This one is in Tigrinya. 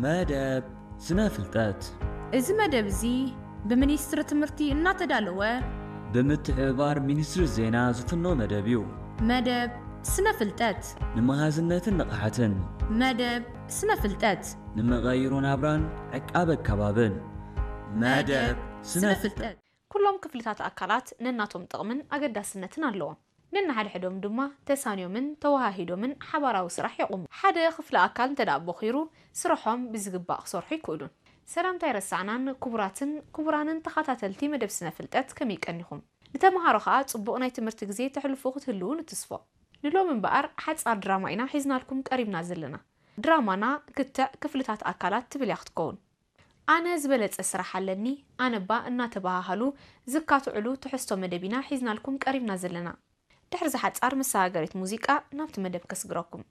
መደብ ስነ ፍልጠት። እዚ መደብ እዚ ብሚኒስትሪ ትምህርቲ እናተዳለወ ብምትሕብባር ሚኒስትሪ ዜና ዝፍኖ መደብ እዩ። መደብ ስነ ፍልጠት ንመሃዝነትን ንቕሓትን መደብ ስነ ፍልጠት ንመቐይሮ ናብራን ዕቃበ ከባብን። መደብ ስነ ፍልጠት። ኩሎም ክፍልታት ኣካላት ነናቶም ጥቕምን ኣገዳስነትን ኣለዎም። ነንሓድሕዶም ድማ ተሳንዮምን ተወሃሂዶምን ሓባራዊ ስራሕ የቑሙ። ሓደ ክፍሊ ኣካል እንተ ደኣ ቦኺሩ፣ ስርሖም ብዝግባእ ክሰርሑ ኣይክእሉን። ሰላምታ ኣይረሳዕናን። ክቡራትን ክቡራንን ተኸታተልቲ መደብ ስነ ፍልጠት፣ ከመይ ቀኒኹም? ንተምሃሮ ኸኣ ጽቡቕ ናይ ትምህርቲ ግዜ ተሕልፉ ክትህልዉ ንትስፎ። ንሎሚ እምበኣር ሓጻር ድራማ ኢና ሒዝናልኩም ቀሪብና ዘለና። ድራማና ክትዕ ክፍልታት ኣካላት ትብል እያ ክትከውን። ኣነ ዝበለጸ ስራሕ ኣለኒ፣ ኣነባ እናተበሃሃሉ ዝካትዑሉ ትሕዝቶ መደብ ኢና ሒዝናልኩም ቀሪብና ዘለና። ድሕሪ እዛ ሓጻር መሰጋገሪት ሙዚቃ ናብቲ መደብ ከስግረኩም።